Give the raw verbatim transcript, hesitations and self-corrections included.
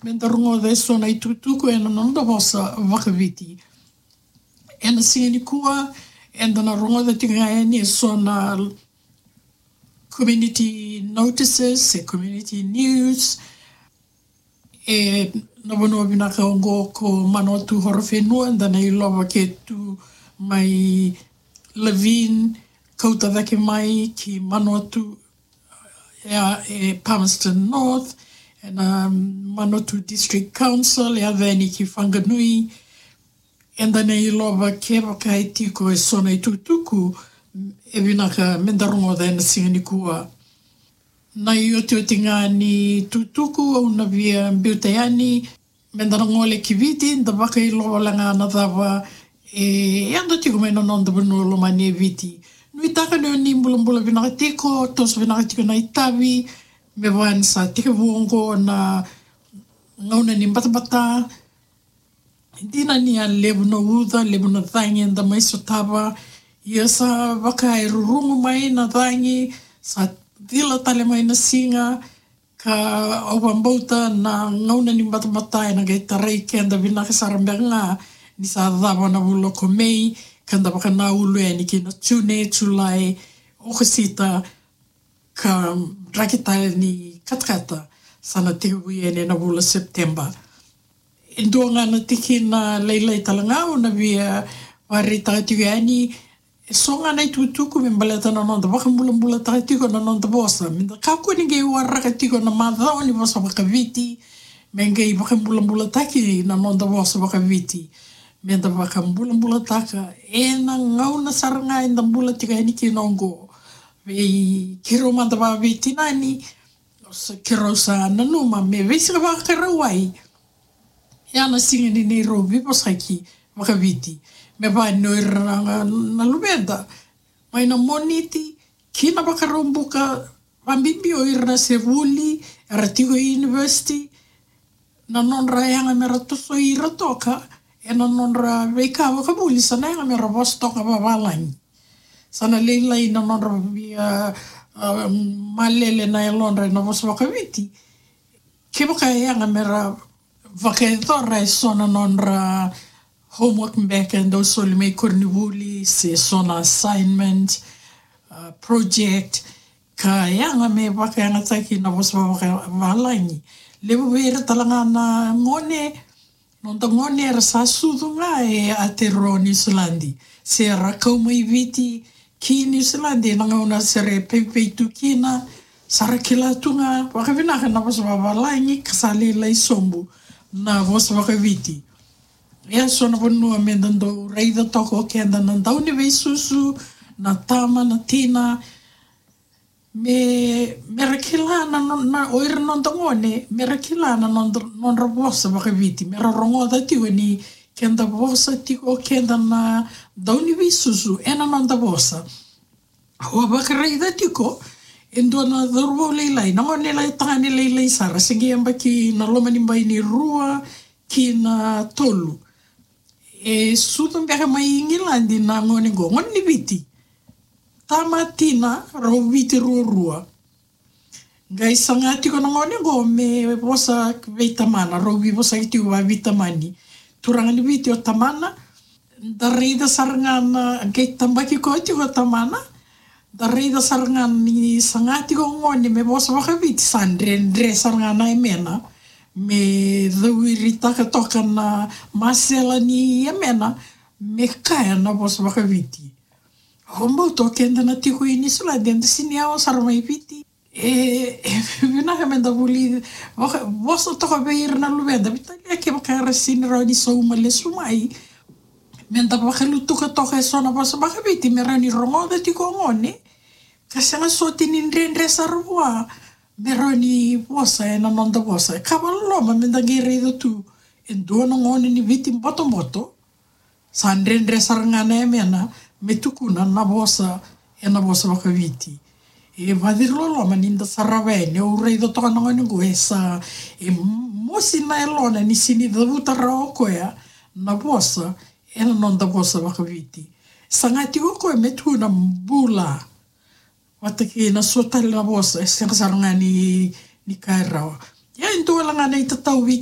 Me da rogoca eso na itukutuku ena noda vosa vakaviti. Ena siga nikua, eda na rogoca tiko ga yani eso na community notices, e community news, ena vanua vinaka oqo ko Manawatu Horowhenua, eda na ilova ke tu mai Levin, kauta cake mai ki Manawatu, e, e Palmerston North, ena Manawatu District Council, e yaco yani ki Whanganui. Eda na ilova kevaka e tiko eso na itukutuku e vinaka me da rogoca ena siga nikua. Na iotioti ga ni itukutuku au na via biuta yani, me da na gole ki Viti, da vakailova wale ga na cava e yaco tiko mai na noda vanua lomani e Viti. Nuitaka ni o ni bulabula vinaka tiko, toso vinaka tiko na itavi, me vaka ni sa tekivu oqo na gauna ni batabata. Dina ni a levu na uca, levu na cagi eda mai sotava, ia sa vaka e rurugu mai na cagi, sa cila tale mai na siga, ka au vakabauta na gauna ni batabata ena qai tarai keda vinaka sara beka ga ni sa cava na vula ko Mei, ka da vakanaulu yani ki na June, Julai, Okosita, ka draki tale ni katakata sa na tekivu yani ena vula Sepiteba. E dua ga na tikina lailai tale ga au na via vakaraitaka tiko yani, eso ga na itukutuku me baleta na noda vakabulabulataka tiko na noda vosa. Me da kakua ni qai waraka tiko na macawa ni vosa vakaviti me qai vakabulabulataki na noda vosa vakaviti. Me da vakabulabulataka ena gauna sara ga eda bula tiko yani kina oqo. Vei keirau mada vakaveitinani, sa keirau sa nanuma me veisiga Vakarauwai, ia na siga ni neirau veivosaki vakaviti. Me vaka ni o ira na, na luveda mai na Moniti ki na Vakaraubuka, vakabibi o ira na se vuli, era tiko i university, na nodra yaga mera tosoi ira toka ena nodra veika vakavuli, sa na yaga mera vosa toka vavalagi. Sa na lailai na nodra via, a, malele na yalodra ena vosa vakaviti. Kevaka e yaga mera vakayacora eso na nodra homework beka e dau soli mai koronivuli, se so na assignment, a, project, ka yaga me vakayagataki na vosa vakavalagi. Levu vei ira tale ga na gone, noda gone era sa sucu ga e Aotearoa Niusiladi, se ra kau mai Viti ki Niusiladi ena gauna se ra peipei tu kina, sa ra kila tu ga vakavinaka na vosa vakavalagi, ka sa lailai sobu na vosa vakaviti. Ia so na vanua me da dau raica toka o keda na dauniveisusu, na tama, na tina, me, mera kila na, na, o ira noda gone, mera kila na nodra, nodra vosa vakaviti, mera rogoca tiko ni keda vosa tiko o keda na dauniveisusu ena noda vosa. Au a vakaraica tiko e dua na cauravou lailai, na gone lai tagane lailai sara, se qai yabaki na loma ni bai ni rua ki na tolu. E sucu beka mai Igiladi na gone qo, gone ni Viti. Tama, tina, rau Viti ruarua. Qai saga tiko na gone qo me vosa vei tamana, rau veivosaki tiko vakaveitamani. Turaga ni Viti o tamana, da raica sara ga na, qai tabaki koya tiko o tamana, da raica sara ga ni saga tiko o gone me vosa vakaviti, sa dredre sara ga na yamena me cauiritaka toka na masela ni yamena me kaya na vosa vakaviti. Au vakabauta o keda na tiko i Niusiladi, eda sini yawa sara mai Viti. E, e vinaka me da vuli, vaka, vosa toka vei ira na luveda, veitalia kevaka era sini rawa ni sauma lesu mai. Me da vakalutuka toka eso na vosa vakaviti me rawa ni rogoca tiko o gone, ka sega soti ni dredre sara vua me rawa ni vosa ena noda vosa. Ka vakaloloma me da qai raica tu e dua na gone ni Viti botoboto, sa dredre sara ga na yamena me tukuna na vosa ena vosa vakaviti. E vakaciriloloma ni da sarava yani, au raica toka na gone qo e sa, e mosi na yalona ni sini cavuta rawa o koya na vosa ena noda vosa vakaviti. Saga tiko o koya me tukuna bula vata kei na so tale na vosa e sega sara ga ni, ni kaya rawa. Ia e dua wale ga na itatau vei